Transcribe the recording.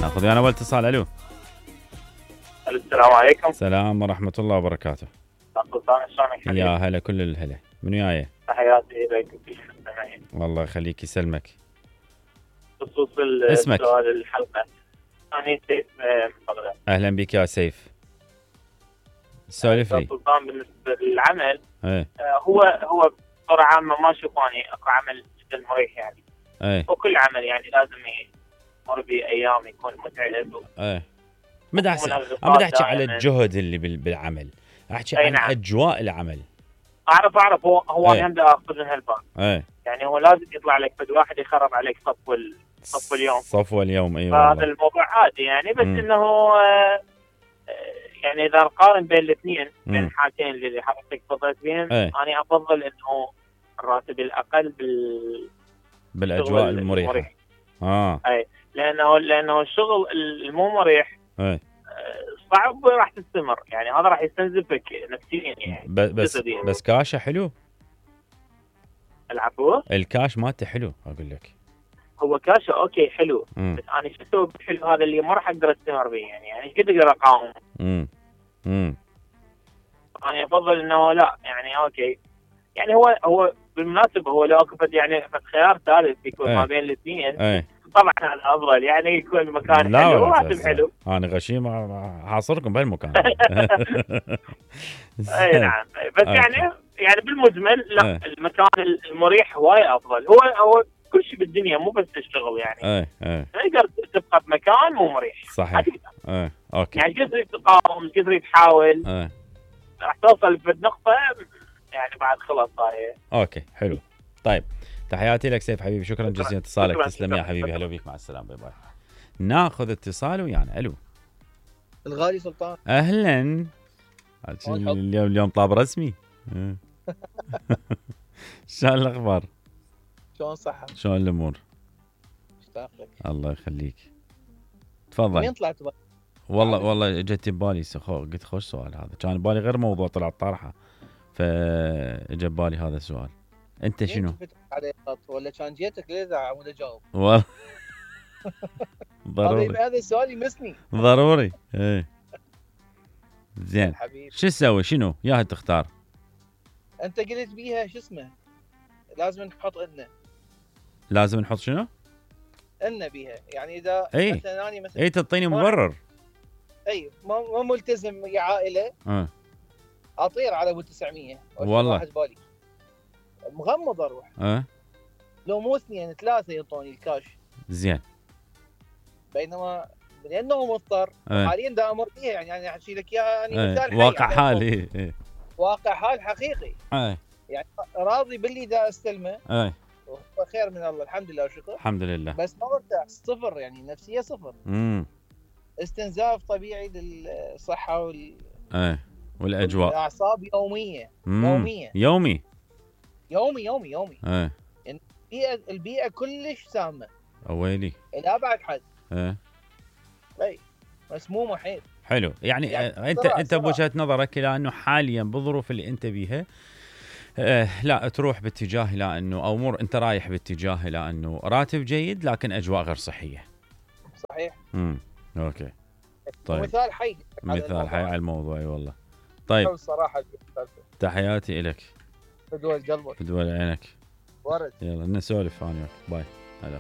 ناخذ ويانا اول اتصال. الو. السلام عليكم. السلام ورحمه الله وبركاته. سلطان شلونك؟ يا هلا كل الهلا. من وياي؟ تحياتي اليك وكل المستمعين. والله يخليك يسلمك. بخصوص اسمك؟ سؤال الحلقه. انا سيف من بغداد. اهلا بك يا سيف. سولف لي. سلطان بالنسبه للعمل ايه هو بصوره عامه ما اشوف اني اكو عمل جدا مريح يعني. ايه وكل عمل يعني لازم يمر بايام يكون متعب. ايه ما بدي احكي على الجهد اللي بالعمل، احكي عن نعم. اجواء العمل. اعرف هو ايه. انا هم اخذ من هالباب. ايه يعني هو لازم يطلع لك بد واحد يخرب عليك صفو اليوم. صفو اليوم. اي هذا والله. الموضوع عادي يعني، بس انه يعني اذا نقارن بين الاثنين بين الحالتين اللي حضرتك تفضلت بهم، انا افضل انه الراتب الاقل بالاجواء المريحه. اي لانه الشغل المو مريح صعب راح تستمر، يعني هذا راح يستنزفك نفسيا يعني. بس كاشه حلو. العفو. الكاش مالته حلو اقول لك. هو كاشه اوكي حلو. بس انا شو اسوي بالحلو هذا اللي ما راح اقدر استمر به يعني ايش قد اقدر اقاوم. انا افضل انه لا يعني اوكي يعني هو بالمناسبه هو لو اكو يعني خيار ثالث يكون ما بين الاثنين طبعا هذا افضل يعني يكون مكان حلو وراتب حلو. انا غشيم حاصركم بهالمكان. اي نعم بس يعني بالمجمل لا المكان المريح هواي افضل. هو كل شيء بالدنيا مو بس الشغل يعني. تقدر تبقى بمكان مو مريح. صحيح. اوكي. يعني قدر تقاوم قدر تحاول راح توصل بنقطه يعني بعد خلاص هاي. اوكي حلو. طيب تحياتي لك سيف حبيبي، شكرا جزيلا اتصالك. تسلم يا حبيبي. هلا بيك، مع السلامه. باي باي. ناخذ اتصال ويانا. الو. الغالي سلطان. اهلا. اليوم طاب رسمي. شلون الاخبار؟ شلون صحة؟ شلون الامور؟ مشتاق لك. الله يخليك. تفضل. وين طلعت بقى؟ والله جت ببالي قلت خوش سؤال هذا، كان ببالي غير موضوع طلع طرحه فاجى ببالي هذا السؤال. انت شنو؟ ولا كان جيتك للاذاعه ولا جاوب؟ والله ضروري هذا السؤال يمسني. ضروري. ايه زين شو تسوي؟ شنو ياها تختار؟ انت قلت بيها شو اسمه لازم نحط لازم نحط شنو؟ بيها يعني اذا مثلا اني مثلا تعطيني مبرر. اي مو ملتزم يا عائله. اطير على ابو 900 والله واحد بالي مغمض اروح. لو مو 2 3 يعطوني الكاش. زين. بينما لانه مضطر حاليا دا امر فيها يعني انا احكي لك اياها يعني مثال واقع حال. واقع حال حقيقي. يعني راضي باللي دا استلمه. خير من الله الحمد لله وشكر. الحمد لله. بس ما مرتاح صفر يعني نفسيه صفر. استنزاف طبيعي للصحه والاجواء. الاعصاب يوميه. يومي. يعني البيئه كلش سامه. اويلي. الى ابعد حد. اي مسمومه حيل. حلو يعني انت بوجهه نظرك الى انه حاليا بالظروف اللي انت بيها لا تروح باتجاه الى انه او امور انت رايح باتجاه الى انه راتب جيد لكن اجواء غير صحيه. صحيح. اوكي. طيب مثال حي على الموضوع. اي والله. طيب الصراحه تحياتي لك. فدوى قلبك. فدوى عينك. ورد. يلا نسولف انا وياك. باي. هلا.